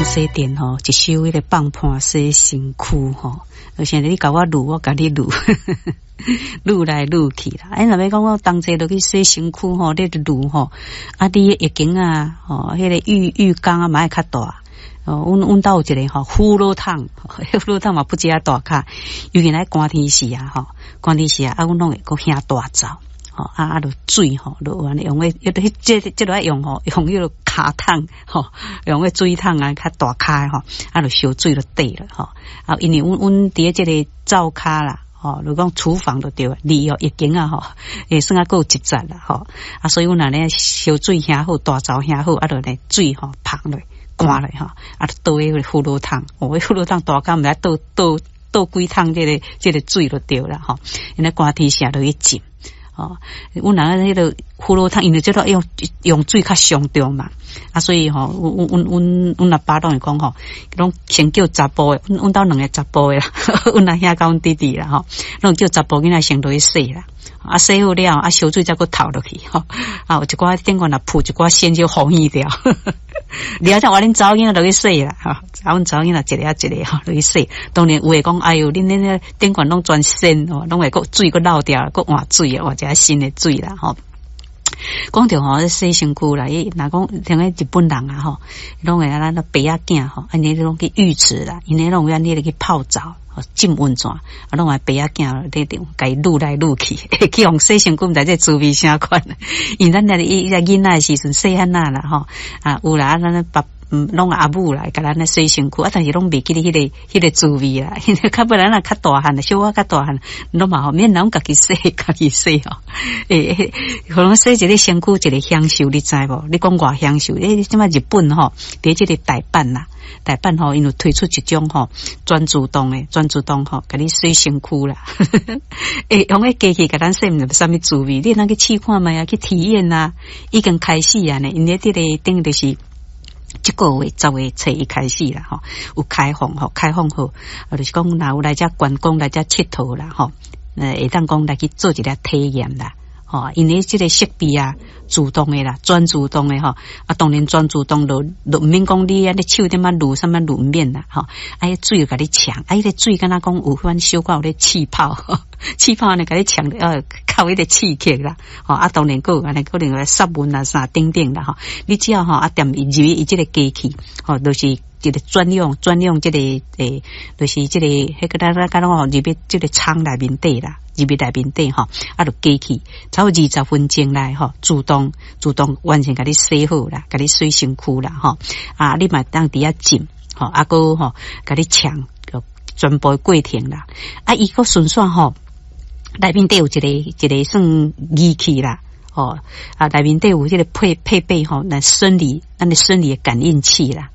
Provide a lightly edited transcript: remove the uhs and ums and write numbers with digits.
洗電吼，一首彼個放盤洗身軀吼，而且你共我攄，我共你攄，攄來攄去啦。哎，若欲講我同齊落去洗身軀吼，你攄吼，啊，你浴巾啊，吼，彼個浴缸啊，嘛愛較大。哦，阮兜有一個吼葫蘆桶，葫蘆桶嘛不止遐大跤，尤其咧寒天時啊，吼，寒天時啊，啊，阮攏會閣興大灶，吼，啊啊，就水吼，就按呢用彼，彼這這愛用吼，用彼个跤桶，吼，用彼水桶啊，較大跤吼，啊，就燒水就綴了吼。啊，因為阮佇咧這个灶跤啦，吼，如講廚房就對，離哦浴間啊吼，會算啊閣有一節啦，吼，啊，所以阮按呢燒水興好，大灶興好，啊，就咧水吼捧落。灌落吼，啊，倒彼个葫蘆桶，哦，彼葫蘆桶大跤，毋知倒倒倒幾桶這個水就對啦吼。因為寒天時落去浸，吼，阮人彼個葫蘆桶，因為這個用水較上重嘛，啊，所以吼，阮阿爸攏會講吼，攏先叫查埔的，阮兜兩个查埔的啦，阮阿兄佮阮弟弟啦吼，攏叫查埔囡仔先落去洗啦。啊，洗好了，啊，燒水才閣透落去吼。啊，有一寡頂懸若浮一寡線就予去掉。了才換恁查某囡仔落去洗啦，吼，啊，阮查某囡仔一个仔一个吼落去洗。當然有的講，哎喲，恁頂懸攏全鉎吼，攏會閣水閣漏掉，閣換水啊，換一下新的水啦，吼。講著吼，洗身軀啦，伊若講像彼日本人啊吼，攏會啊咱爸仔囝吼，按呢攏去浴池啦，𪜶攏會按呢去泡澡。浸溫泉，啊，攏愛爸仔囝咧共伊攄來攄去，去予洗身軀，毋知這滋味啥款。因為咱咧伊在囡仔的時陣細漢仔啦吼，啊有啦，啊咱爸攏阿母來共咱咧洗身軀，啊，但是攏袂記得彼個滋味啦。因為較尾咱若較大漢，小可較大漢，攏嘛吼免人家己洗，家己洗吼。欸，可能洗一个身軀一個享受，你知無？你講偌享受？欸，這擺日本吼，佇這个大阪啦。大阪吼，𪜶有推出一種吼全自動的，全自動吼，共你洗身軀啦。欸，用彼機器共咱洗，毋知啥物滋味，你通去試看覓啊？去體驗啊！已經開始啊呢，𪜶咧這個等於就是這個月10月初一開始啦，吼，有開放吼，開放好，啊，就是講若有來遮觀光來遮𨑨迌啦，吼，會當講來去做一个體驗啦。吼，因為這个設備啊，自動的啦，全自動的吼，啊，當然全自動就毋免講你按呢手踮仔攄啥物攄毋免啦，吼，啊，彼水共你沖，啊，彼个水敢若講有款小可有咧氣泡，氣泡按呢共你沖，較有彼個刺激啦，吼，啊，當然閣有按呢可能來殺蚊啊啥等等啦，吼，你只要吼啊踮入去伊這个機器，吼，就是一個專用這個欸，就是這個彼個咱咱敢若講入去這个艙內面底啦。入去內面底吼，啊，就機器差不多20分鐘內吼，自動完成共你洗好啦，共你洗身軀啦吼，啊，你嘛會當佇遐浸吼，啊，閣吼共你沖全部的過程啦，啊，伊閣順紲吼，內面底有一個算儀器啦，吼，啊，內面底有這个配備吼，來生理咱的生理的感應器啦。